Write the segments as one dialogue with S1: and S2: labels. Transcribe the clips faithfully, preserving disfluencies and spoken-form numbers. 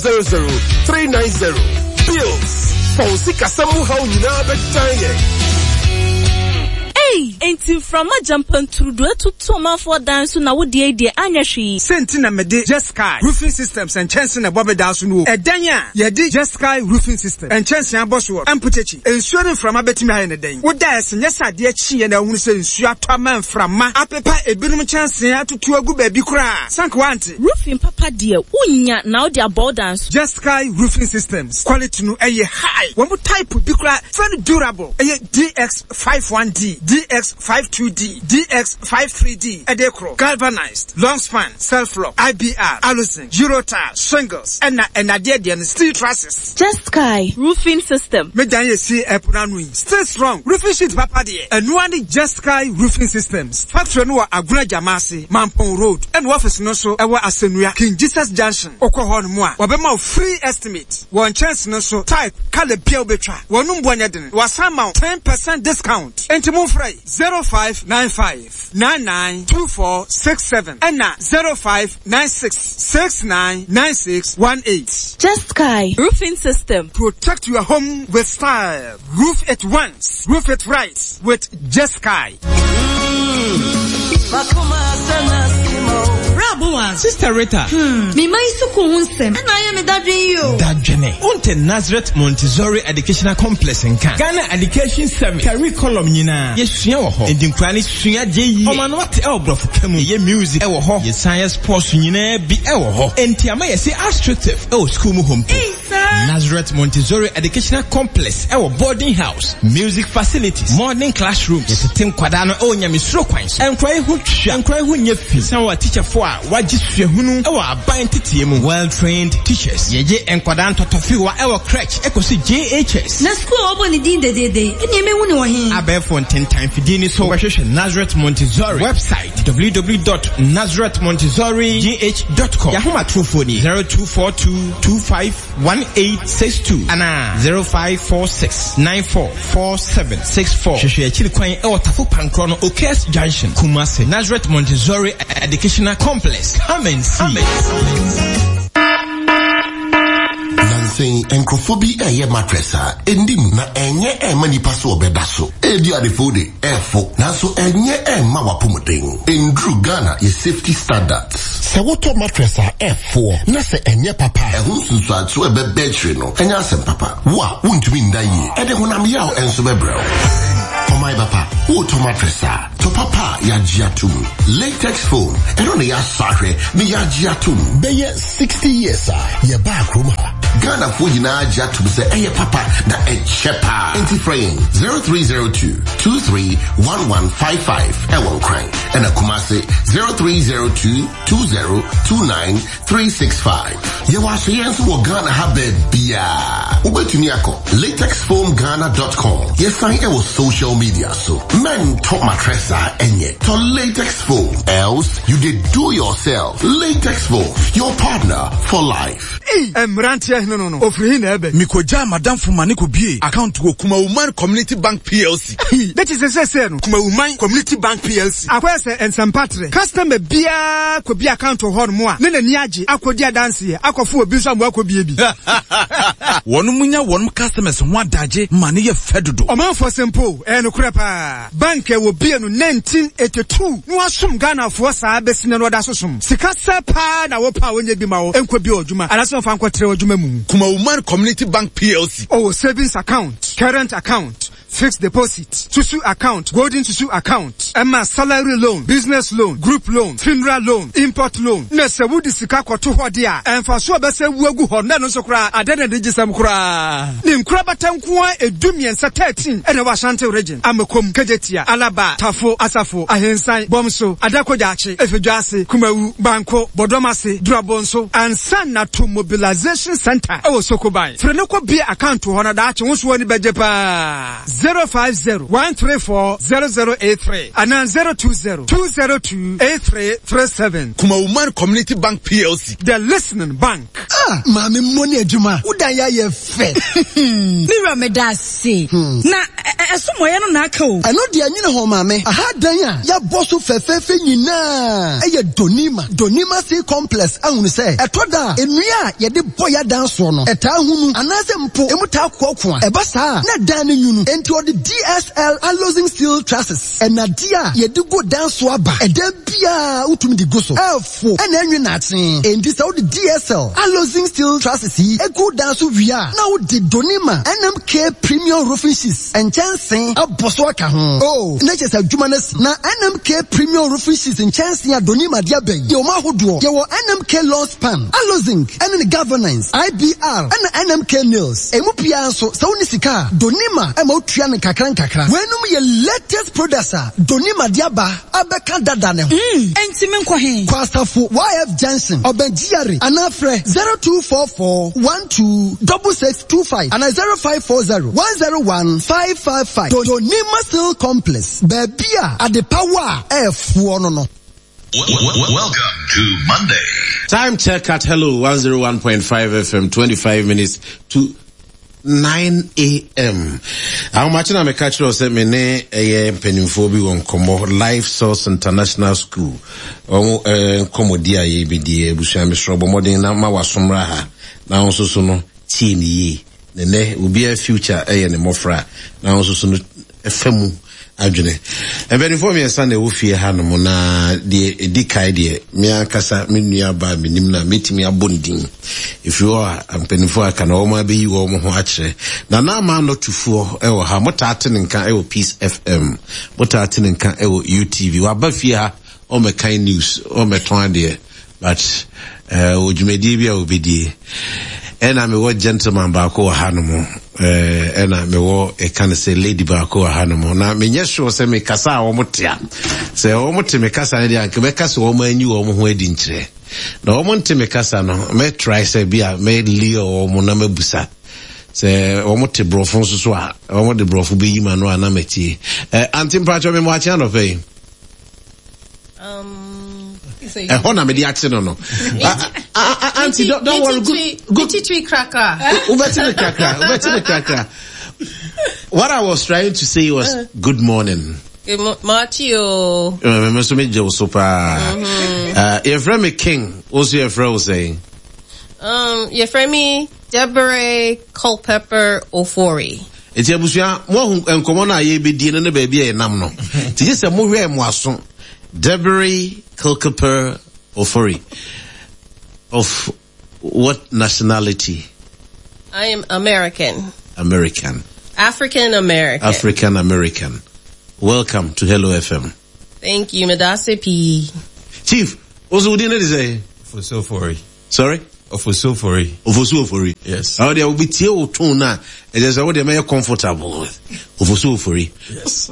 S1: zero zero three nine zero. Bills. Fa wo sikasɛm mu haw nyinaa bɛdan yɛn.
S2: Ei! Enti mframa gyampanturudu atutu ɔmanfoɔ dan so na wo deɛ yi deɛ anyɛ hwee.
S3: Sɛ nti na mede Jeskai Roofing Systems nkyɛnse na ɛbɔ me dan so no o. Ɛdan a yɛde Jeskai Roofing System nkyɛnse abɔ soɔ mpokyekyi, nsuo ne mframa bɛtumi ayɛ no dɛn? Wo da a ɛse nyɛ sɛ adeɛ kyeeɛ na wohunu sɛ nsuo atɔ ama mframa apepa ebinom nkyɛnse atutu agu baabi koraa. Sɛ anka woante.
S2: Roofing papa deɛ, wonnya na wode abɔ wo dan so.
S3: Jeskai Roofing Systems quality no ɛyɛ high. Wɔn type bi koraa very durable. Ɛyɛ D X five one D, D X five two D, D X five three D, ɛde korɔ, galvanized, long span, self-lock, I B R, aluzinc, Eurotile, shingles, ɛna ɛnadeɛ deɛ no steel trusses.
S2: Jeskai Roofing System.
S3: Me dan yɛ si ɛpo n'ano yi. Stay strong. Roofing sheet papa deɛ. Ɛnoa ne Jeskai Roofing Systems. Factory no wɔ Agona Jamase, Mampong Road. Ɛna office no nso ɛwɔ Asenua, King Jesus Junction. Okɔ hɔ no mu a, wɔbɛma wo free estimate. Wɔn nkyɛnse no nso type, colour bia wobɛtwa. Wɔn mboa nyɛ den. Wɔasan ma wo ten percent discount. Enti momfrɛ yi zero five nine five nine nine two four six seven ɛna zero five nine six six nine nine six one eight.
S2: Jeskai Roofing System.
S3: Protect your home with style. Roof it once, roof it right with Jeskai.
S4: Sister Rita.
S5: Hmm. Me mai suku hunsem. And I am a daddy yo.
S4: Dadjene. Unte Nazareth Montessori Educational Complex nka. Ghana Education Service. Curriculum nyina. Ye sua wo ho. Ndi nkura ne sua je yi. Oma no ate e obrofo kamu. Ye music e wo ho. Ye science sports nyina bi e wo ho. Enti ama ye se astroturf e wo school mu hom. Nazareth Montessori Educational Complex e wo boarding house, music facilities, modern classrooms. Ye tete nkwada no e wo nyamesuro kwan so. Enkura ho twa, enkura ho nye fi. San wa teacher fo a wagye suahunu e wo aban tetie mu. Well trained teachers. Ye je nkwada ntotofiwa e wo crèche e kosi J H S.
S5: Na school obo ni din dedede. Eni me hu ni wo hin.
S4: Abefo ntentan fidini ni so wehwehwe Nazareth Montessori website w w w dot nazareth montessori g h dot com. Yahoma trofoni zero two four two two five one eight six two ana zero five four six nine four four seven six four. Hwehwɛ akyiri kwan ɛwɔ Tafo Pankro no Okes Junction, Kumasi. Nazareth Montessori Educational Complex. Come and see.
S6: Nansen nkrofo bi ɛyɛ mattress a endim na ɛnyɛ ɛma nipa so ɔbɛda so. Ebi adefo de ɛfo nanso ɛnyɛ ɛma wapomuden. Enduru Ghana yɛ safety standards. Sɛ wotɔ mattress a ɛfo na sɛ ɛnyɛ papa. Ɛho nsunsuanso ɛbɛbɛ akyire no ɛnyɛ asɛm papa. Wo a wontumi nda yie ɛde honam yaw ɛnso bɛbrɛ wo. Ɔman papa wotɔ mattress a tɔ papa yagye atom. Latex foam ɛno na yɛasɔ ahwɛ ne yagye atom. Bɛyɛ sixty years a yɛbaa kurom ha. Ghana fo nyinaa gye atom sɛ ɛyɛ papa na ɛkyɛ paa. Enti frɛ yɛn zero three zero two two three one one five five ɛwɔ Nkran ɛna Kumasi zero three zero two two zero two nine three six five. Yɛwɔ asoyɛ nso wɔ Ghana ha baabiara. Wobɛtumi akɔ latex foam ghana dot com. Yɛsan ɛwɔ social media so. Men tɔ mattress a ɛnyɛ. Tɔ latex foam. Else you did do yourself. Latex foam, your partner for life.
S3: Hey, Emrantia no no no. Ofri na ebe.
S7: Mikoja madam fuma ne ko bie account wo Kumawuman Community Bank P L C.
S3: Hey, that is se se no. Kumawuman Community Bank P L C. Akwa se ensempatre. Customer bia ko bia account ho no mo a. Ne na ni age akodi adanse akofo obi nso am akobie bi.
S7: Wonu munya wonu customers ho adaje ma ne ye fedodo.
S3: Omanfo sempo e no kura pa. Bank e wo bie no nineteen eighty-two. No asum Ghana fo saa besina no da sosom. Sika se pa na wo pa wonye bi ma wo enko bi odwuma. Alaso fa nkotre odwuma mu.
S7: Kumawuman Community Bank P L C.
S3: Oh, savings account, current account, fixed deposit, susu account, golden susu account, Emma salary loan, business loan, group loan, funeral loan, import loan. Na se wudi sika koto ho de a, enfa so obese wuagu ho na no so kra, ade na digisam kra. Ni nkra batanko a edumiensa thirteen e na wa Ashanti region, Amekom, Kejetia, Alaba, Tafo, Asafo, Ahensan, Bomso, Adakojachi, Efedwase, Kumawu, Banko, Bodomase, Drabonso, Ansa na to mobilization center e wo Sokoban. Freneko bi account ho na da ache wo so ani bejepa. zero five zero one three four zero zero eight three and zero two zero two zero two eight three three seven.
S7: Kumawuman Community Bank P L C.
S3: The Listening Bank.
S8: Ah, Mami Moni Ejuma, uda ya ye fe.
S5: Mira me da se. Na Ɛso mɔyɛ no na aka o.
S8: Ɛno deɛ nwene ho maame. Aha dan a yɛabɔ so fɛfɛɛfɛ nyinaa ɛyɛ Donima. Donima Steel Complex ahunu sɛ ɛtɔ da a nnua a yɛde bɔ yɛ adan soɔ no ɛtaa hunu anaasɛ mpo emu taa koakoa. Ɛba saa na dan no nwunu. Enti ɔde D S L Alozing Steel Trusses ɛnadeɛ a yɛde gu dan so aba. Ɛdan biara wotumi de gu so. Ɛɛfo ɛna ɛnwe naakye. Enti sɛ wode D S L Alozing Steel Trusses yi egu dan so wie a, na wode Donima N M K Premium Roofing Sheets nkyɛnsee abɔ so aka ho. Oh, na kyerɛ sɛ adwuma no asi. Na N M K Premium Roofing Sheets nkyɛnsee a Donima de aba yi, yɛwɔ mu ahodoɔ. Yɛwɔ N M K Long Span, Alozing, ɛne ne Galvanized, I B R, ɛna N M K Nails. Emu biara nso, sɛ wonni sika a, Donima ɛma wotua no nkakra nkakra. Weinom yɛ latest products a Donima de aba abɛka dada ne ho.
S5: Mm, enti menkɔ he?
S8: Kɔ Asafo Y F Junction, ɔbɛn G R A, anaa frɛ zero two four four one two six six two five anaa zero five four zero one zero one five five five. Donima Steel Complex, baabi a adepawa a ɛɛfoɔ no no.
S9: Welcome to Monday.
S10: Time check at Hello one oh one point five F M, twenty-five minutes to nine a m. Ahomakye na meka kyerɛ wo sɛ me ne ɛyɛ mpanimfoɔ bi wɔ nkɔmmɔ, Life Source International School. Wɔn eh, nkɔmmɔdi a yɛbɛdi, abusua, mesrɛ bɔ mmɔden na ma wasomra ha na wo nso so no tie ne yie. Nɛnɛ obiara future ɛyɛ ne mmɔfra na wo nso so no ɛfa mu adwene. Mpanimfoɔ mmiɛnsa na ɛwɔ fie ha nom, na deɛ ɛdi kae deɛ, me ankasa me nua ba menim na mɛtumi abɔ ne din. Ɛfiri hɔ a, mpanimfoɔ aka na wɔn abɛyi wɔn ho akyerɛ. Na na ama anɔtufoɔ ɛwɔ ha, motaa te ne nka ɛwɔ Peace F M, motaa te ne nka ɛwɔ U T V. Waba fie ha, ɔmmɛkan news, ɔmmɛtɔn adeɛ, but wɔ dwumadie bi a wɔbɛdie. Ɛna mewɔ gentleman baako wɔ ha nom, ɛna mewɔ ɛka no sɛ lady baako wɔ ha nom, na menyɛ sure sɛ mekasa a wɔn te a, sɛ wɔn te me kasa no deɛ, anka mɛka sɛ wɔn anyi wɔn ho adi nkyerɛ, na wɔn nte me kasa no, mɛtry sɛ bi a mɛlia wɔn na mɛbusa sɛ wɔn te borɔfo nso so a, wɔn de borɔfo bɛyi ma no a na mɛtie. Ɛ auntie, mpakyɛ me mo akye anɔpɛ yi.
S11: Um,
S10: Ɛhɔ na mede akye no no. Auntie, don't, don't worry. Good,
S11: good. Twi krakra.
S10: Wobɛte ne krakra, wobɛte ne krakra. What I was trying to say was uh, good morning.
S11: Good mo- Machio.
S10: Me nso megye wo so paa. Yɛfrɛ me King, wo nso yɛfrɛ wo sɛn?
S11: Um, yɛfrɛ me Deborah Culpepper Ofori.
S10: Nti abusua, moahu nkɔmmɔ no a yɛbɛdie no ne baabi a yɛnam no. Nti gye sɛ mohwɛɛ mo aso. Deborah Culpepper Ofori. Of what nationality?
S11: I am American.
S10: American.
S11: African American.
S10: African American. Welcome to Hello F M.
S11: Thank you, Medase P.
S10: Chief, also what did say?
S4: Ofosu Ofori.
S10: Sorry?
S4: Ofosu Ofori.
S10: Ofosu Ofori.
S4: Yes.
S10: Oh, there will be tie o tone na. It is what they may comfortable with. Ofosu Ofori.
S4: Yes.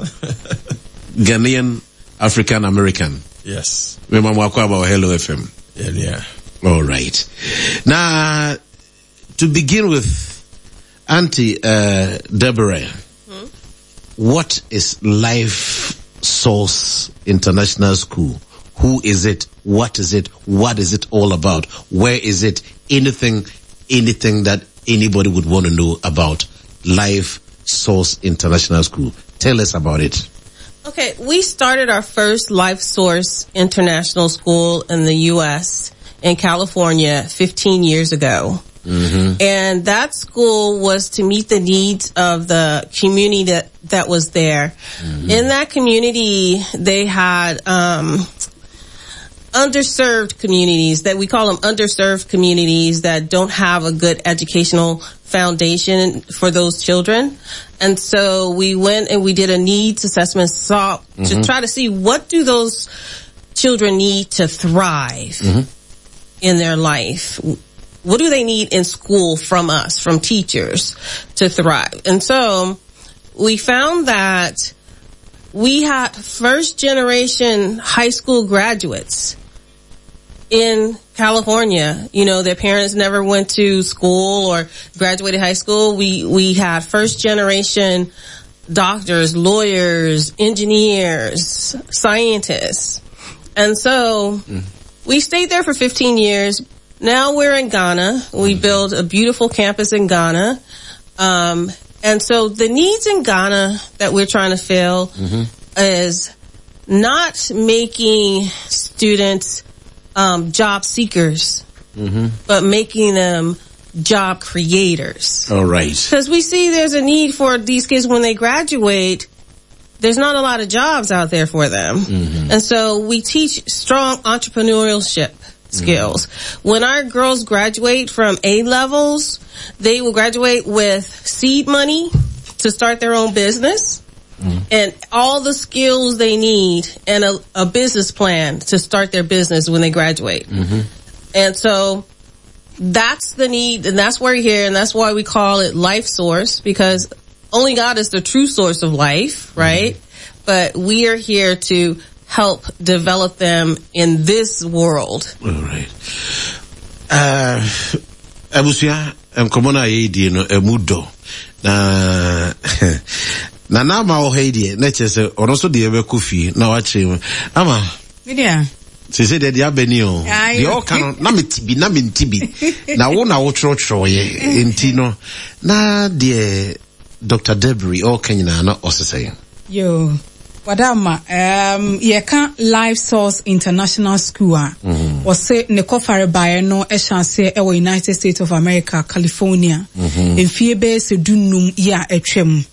S10: Ghanaian African American.
S4: Yes.
S10: Me mama about Hello F M.
S4: Yeah, yeah.
S10: All right. Now, to begin with, Auntie uh, Deborah, hmm? what is Life Source International School? Who is it? What is it? What is it all about? Where is it? Anything, anything that anybody would want to know about Life Source International School. Tell us about it.
S11: Okay, we started our first Life Source International School in the U S in California fifteen years ago.
S10: Mm-hmm.
S11: And that school was to meet the needs of the community that, that was there.
S10: Mm-hmm.
S11: In that community, they had, um, underserved communities that we call them underserved communities that don't have a good educational foundation for those children. And so we went and we did a needs assessment, saw
S10: mm-hmm.
S11: to try to see what do those children need to thrive
S10: mm-hmm.
S11: in their life. What do they need in school from us, from teachers, to thrive? And so we found that we had first generation high school graduates in California. You know, their parents never went to school or graduated high school. We, we had first generation doctors, lawyers, engineers, scientists. And so
S10: mm.
S11: we stayed there for fifteen years. Now we're in Ghana. We mm. built a beautiful campus in Ghana. Um, And so the needs in Ghana that we're trying to fill mm-hmm. is not making students um, job seekers, mm-hmm. but making them job creators.
S10: All right.
S11: Because we see there's a need for these kids when they graduate, there's not a lot of jobs out there for them. Mm-hmm. And so we teach strong entrepreneurship skills. Mm-hmm. When our girls graduate from A levels, they will graduate with seed money to start their own business. Mm-hmm. And all the skills they need and a, a business plan to start their business when they graduate. Mm-hmm. And so that's the need, and that's why we're here, and that's why we call it Life Source, because only God is the true source of life, right? Mm-hmm. But we are here to help develop them in this world.
S10: All right. Uh, abusua, nkɔmɔ no a yɛredi no emu dɔ na na na ama wɔ ha yi deɛ na kyerɛ sɛ ɔno nso deɛ bɛkɔ fie na wakyerɛ mu ama.
S5: Media.
S10: Sese deɛ deɛ abɛni o deɛ ɔka no na meti bi na menti bi na wo na wotwerɛtwerɛeɛ nti no na deɛ Doctor Debri ɔka nyinaa na ɔsesɛe.
S5: Yo, wadama, um, yɛka Life Source International School a, ɔse ne kɔfare baeɛ no ɛhyɛ aseɛ ɛwɔ United States of America, California. Mfie bɛyɛ sɛ dunum yi a atwam.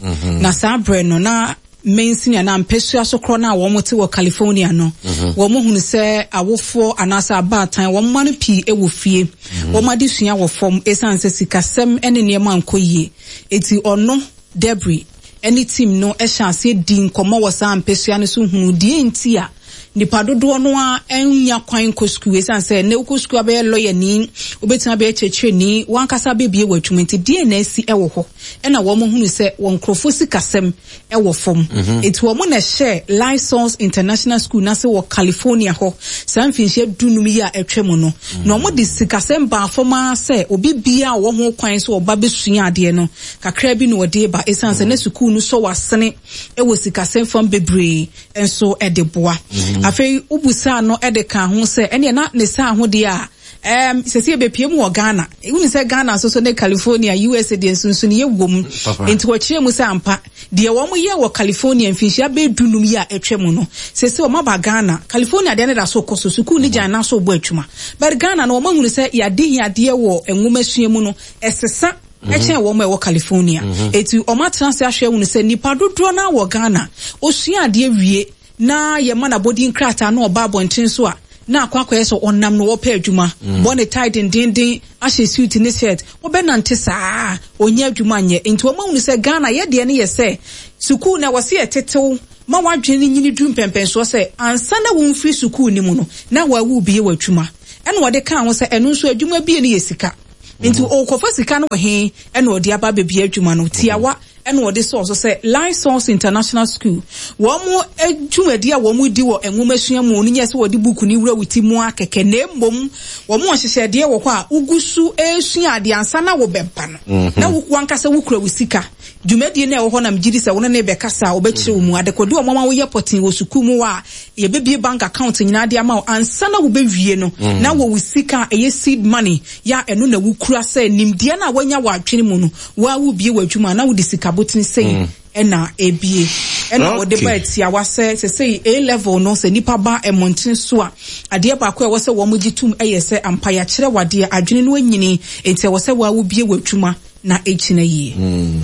S5: Na saa berɛ no na mansini anaa mpɛsua so korɔ no a wɔn te wɔ California no, wɔn hunu sɛ awofoɔ anaasɛ abaatan wɔn mma no pii ɛwɔ fie. Wɔn adesua wɔ fam ɛsiane sɛ sikasɛm ɛne nneɛma nkɔ yie. Eti ɔno Debri ɛne team no ɛhyɛ aseɛ di nkɔmmɔ wɔ saa mpɛsua no so hunu deɛ nti a nipa dodoɔ no a ɛnya kwan kɔ sukuu ɛsiane sɛ ne wokɔ sukuu abɛyɛ lawyer ni, wobɛtumi abɛyɛ kyerɛkyerɛni, wankasa bɛbie wɔ adwuma nti deɛ na asi ɛwɔ hɔ. Ɛna wɔn hunu sɛ wɔn nkurɔfoɔ sikasɛm ɛwɔ fam. Eti wɔn na ɛhyɛ Life Source International School n'ase wɔ California hɔ saa mfinhyia dunum yi a ɛtwa mu no. Na wɔn de sikasɛm baa fam ara sɛ obi bia a ɔwɔ ho kwan so ɔba bɛsua adeɛ no kakra bi na ɔde ba ɛsiane sɛ ne sukuu no sɔ w'asene ɛwɔ sikasɛm fam bebree nso ɛde boa. Afei wobusaa no ɛde ka ho sɛ ɛneɛ na ne saa ho deɛ a Um, sɛ yɛbɛpie mu wɔ Ghana. Wonu sɛ Ghana nso so ne California, U S A deɛ nsonsono yɛ wom. Nti wɔkyerɛ mu sɛ ampa, deɛ wɔn yɛ wɔ California mfinhyia bɛyɛ dunum yi a atwa mu no, sɛ sɛ wɔn aba Ghana, California deɛ ne da so kɔ so, sukuu ne gyan na so bɔ adwuma. But Ghana no wɔn ahunu sɛ yɛade hiadeɛ wɔ nwoma sua mu no, ɛsesa ɛkyɛn wɔn a ɛwɔ California. Eti wɔn atena ase ahwɛ hunu sɛ nipa dodoɔ na wɔ Ghana, osua adeɛ wie na yɛma n'abɔdin krataa na ɔba abɔnten so a, na akɔ akɔyɛ sɛ ɔnam no wɔpɛ adwuma. Bɔ ne tie dendenden, ahyɛ suit ne shirt, wɔbɛnante saa, ɔnyɛ adwuma nyɛ. Nti wɔn ahunu sɛ Ghana yɛ deɛ no yɛ sɛ sukuu na wɔsi yɛtetew ma wadwene ne nyini duru mpɛmpɛnsoɔ sɛ ansa na wɔmfiri sukuu ne mu no na wɔawu bie wɔ adwuma. Ɛna wɔde kaa ho sɛ ɛno nso adwuma bie no yɛ sika. Nti ɔkɔfa sika no wɔ he ɛna ɔde aba abɛbie adwuma no. Tiawa ɛna ɔde sɔɔ so sɛ Life Source International School wɔn mo dwumadi a wɔn mo di wɔ nwoma sua mu no nyɛ sɛ wɔde buku ne wura wuti mu akɛkɛ na mmom wɔn mo nhyehyɛdeɛ wɔ hɔ a wogu so esua adeɛ ansa na wɔbɛba no. Na wo wankasa wokura wo sika. Dwumadie na ɛwɔ hɔ na megye di sɛ wo ne ne bɛkasa a wɔbɛkyerɛ wo mu. Adekode wɔn ama woyɛ pɔten wɔ sukuu mu a yɛbɛbie bank account nyinaa de ama wo ansa na wobɛwie no. Na wɔ wo sika a ɛyɛ seed money ya ɛno na wokura sɛ nimdeɛ na woanya wɔ adwene mu no, wo a wobie wɔ adwuma na wode sika botene sei ɛna ebie. Ɛna wɔde ba atiawa sɛ sɛ sɛ A level no sɛ nipa ba ɛmɔnten so a adeɛ baako a ɛwɔ sɛ wɔn gye tum ɛyɛ sɛ ampa yɛakyerɛ wadeɛ adwene no anyini nti ɛwɔ sɛ wɔa wobie wɔ adwuma na ɛgyina yie.
S10: Mm.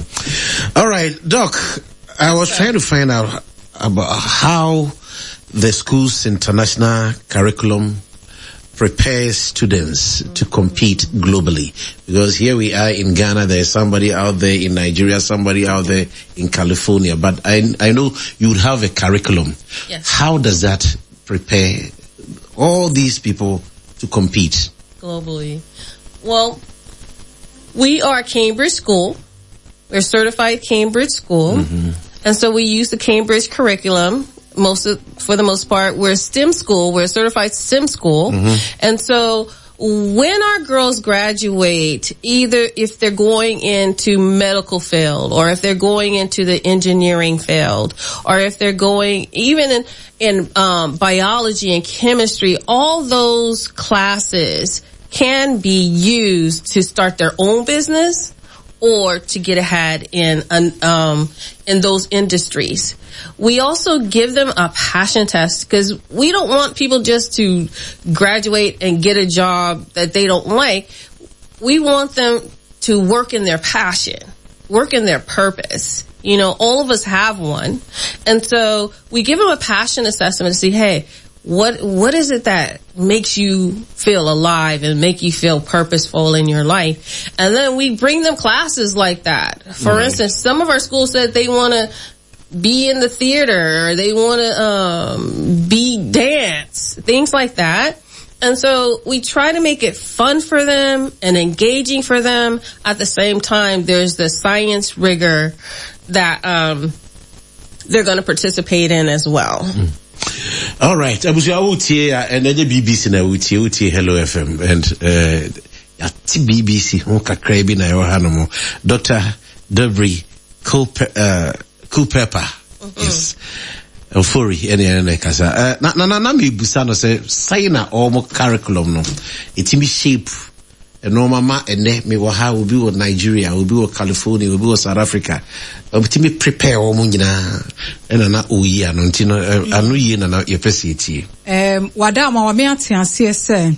S10: All right, Doc, I was trying to find out about how the school's international curriculum prepares students to compete globally. Because here we are in Ghana, there's somebody out there in Nigeria, somebody out there in California. But I, I know you would have a curriculum.
S11: Yes.
S10: How does that prepare all these people to compete?
S11: Globally. Well, we are Cambridge School. We're certified Cambridge School. Mm-hmm. And so we use the Cambridge curriculum. Most of, for the most part, we're a STEM school. We're a certified STEM school. Mm-hmm. And so when our girls graduate, either if they're going into medical field or if they're going into the engineering field or if they're going even in, in um, biology and chemistry, all those classes can be used to start their own business or to get ahead in, um, in those industries. We also give them a passion test because we don't want people just to graduate and get a job that they don't like. We want them to work in their passion, work in their purpose. You know, all of us have one. And so we give them a passion assessment to see, hey, what, what is it that makes you feel alive and make you feel purposeful in your life? And then we bring them classes like that. For mm-hmm. instance, some of our schools said they want to be in the theater or they want to, um, be dance, things like that. And so we try to make it fun for them and engaging for them. At the same time, there's the science rigor that, um, they're going to participate in as well.
S10: Mm. All right. Abusua wotie a ɛnɛ nye B B C na wotie, wotie Hello F M and uh, yɛate B B C ho kakra bi na ɛwɔ ha no mo. Doctor Debri Culpepper. Mm-hmm. Yes. Ofori ɛne ɛne na ɛkasa. Uh, na na na na mebusa no sɛ sɛn na ɔmo curriculum no ɛtumi shape nneɛma ma ɛnɛ mewɔ ha, obi wɔ Nigeria, obi wɔ California, obi wɔ South Africa, ɔtumi prepare wɔn nyinaa ɛna na ɔyi ano nti no ano yie na na yɛpɛ sɛ yɛtie.
S5: Um, wada ama wame ate aseɛ sɛ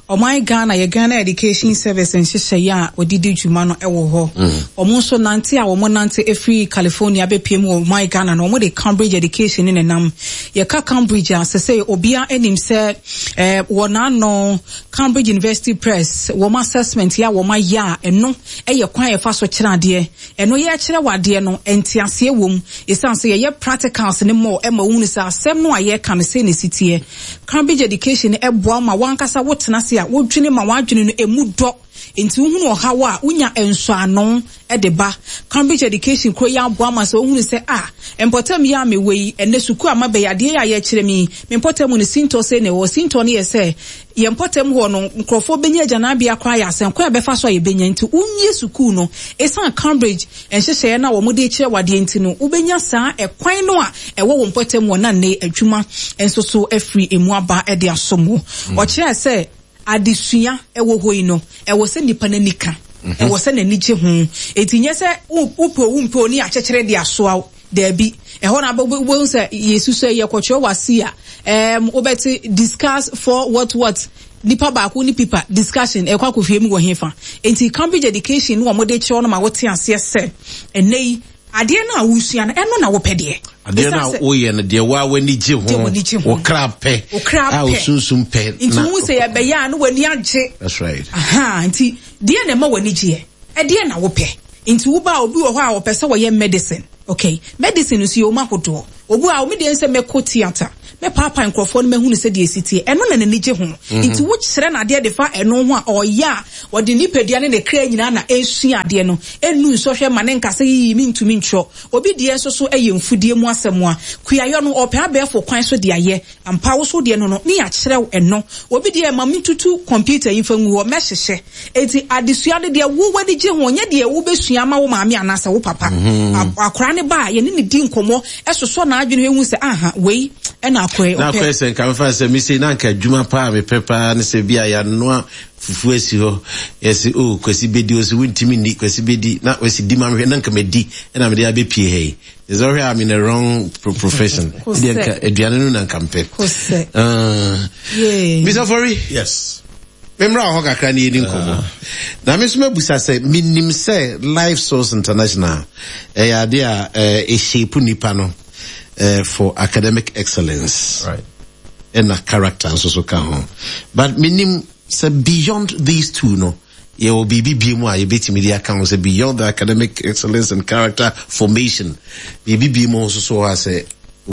S5: ɔman Ghana, yɛ Ghana Education Service nhyehyɛeɛ a wɔde di dwuma no wɔ hɔ. Ɔmo nso nante a wɔn nante efiri California abɛpie mu wɔ ɔman Ghana no, wɔn de Cambridge Education ne nenam. Yɛka Cambridge a, sɛ sɛ obiara anim sɛ ɛɛ wɔ n'ano Cambridge University Press wɔn assessment yɛ a wɔn ayɛ a, ɛno ɛyɛ kwan a yɛfa so kyerɛ adeɛ. Ɛno yɛkyerɛ wɔ adeɛ no, nteaseɛ wɔ mu, ɛsiane sɛ yɛyɛ practicals ne mɔ ɛma wohunu sɛ asɛm no a yɛka no sɛ ne si teɛ. Cambridge Education ɛboa ma wankasa wotena ase a wodwene ma w'adwene no emu dɔ, nti wohunu ɔhaw a wonya nsɔano de ba. Cambridge Education kuro yi aboa ma sɛ wohunu sɛ a mpɔtam yi a mewɔ yi, ɛnɛ sukuu a mabɛyɛ adeɛ yi a yɛkyerɛ mi, me mpɔtam no sintɔ sɛ na ɛwɔ sintɔ no yɛ sɛ yɛn mpɔtam hɔ no nkurɔfoɔ bɛnya agyanabea koraa yɛ asɛm kwan a bɛfa so a yɛbɛnya, nti wonwie sukuu no, ɛsiane Cambridge nhyehyɛeɛ no a wɔde kyerɛ wadeɛ nti no, wobɛnya saa ɛkwan no a ɛwɔ wɔn mpɔtam wɔ na nne adwuma nso so afiri emu aba de asom wo. Ɔkyerɛ sɛ adesua ɛwɔ hɔ yi no, ɛwɔ sɛ nipa n'ani ka, ɛwɔ sɛ n'ani gye ho, eti nyɛ sɛ wopɛ o wompɛ o ne akyekyere de asoa wo, daabi. Ɛhɔ na wobɛhu sɛ yɛsu sɛ yɛkɔtwerɛ wase a, ɛɛm wobɛte discuss for what what nipa baako ne pipa discussion ɛkɔ akɔhwie mu wɔ hefa. Nti Cambridge Education no, wɔn de kyerɛw no ma wote aseɛ sɛ ɛnɛ yi adeɛ no a wosua no, ɛno na wopɛ deɛ.
S10: Adeɛ no a woyɛ no deɛ woa w'ani gye ho, wo kra pɛ, a wo sunsum pɛ.
S5: Nti wohu sɛ yɛbɛyɛ a na w'ani agye.
S10: That's right.
S5: Aha, nti deɛ na ɛma w'ani gyeɛ, ɛdeɛ na wopɛ. Nti woba a, obi wɔ hɔ a wɔpɛ sɛ wɔyɛ medicine. Okay, medicine nso yɛ wɔn ahodoɔ. Obi a omi deɛ sɛ mɛkɔ theatre, mɛpaapa nkurɔfoɔ no, mɛhunu sɛ deɛ esi tie, ɛno na n'ani gye ho. Nti wokyerɛ n'adeɛ de fa ɛno ho a, ɔyɛ a wɔde nipadua ne ne kra nyinaa na esua adeɛ no, enu nsɔhwɛ ma ne nkasa yiyi mi ntumi ntwerɛ. Obi deɛ nso so yɛ mfudie mu asɛm a kuayɔ no, ɔpɛ abɛɛfo kwan so de ayɛ ampa woso deɛ no no ne yɛakyerɛw ɛno. Obi deɛ ma mi tutu computer yi fa ngu hɔ mɛhyehyɛ. Eti adesua no deɛ wo w'ani gye ho, nyɛ deɛ wobɛsua ama wo maame anaasɛ wo papa. Akwaraa ne ba a yɛne ne di nkɔmmɔ, ɛsosɔ n'adwene ehu sɛ aha wei ɛna akwaraa yi
S10: na akɔyɛ sɛ nka mefa sɛ mese na nka adwuma paa mepɛ paa ne sɛ bi a yɛanoa fufuo asi hɔ, yɛsɛ o Kwasi bɛdi, o sɛ wontumi nni, Kwasi bɛdi na Kwasi di ma mehwɛ na nka madi, ɛna mede abɛpie ha yi sɛ wohwɛ I'm in a wrong profession deɛ, nka aduane no na nka mpɛ. Mister Fori.
S1: Yes.
S10: Memra wɔ hɔ kakra ne yɛdi nkɔmmɔ na me nso mabusa sɛ menim sɛ Life Source International ɛyɛ ade a ɛshape nipa no for academic excellence
S1: right.
S10: ɛna character nso so ka ho, but menim sɛ beyond these two no, yɛwɔ biribi bie mu a yɛbɛtumi de aka ho sɛ beyond the academic excellence and character formation, biribi bie mu nso so hɔ a sɛ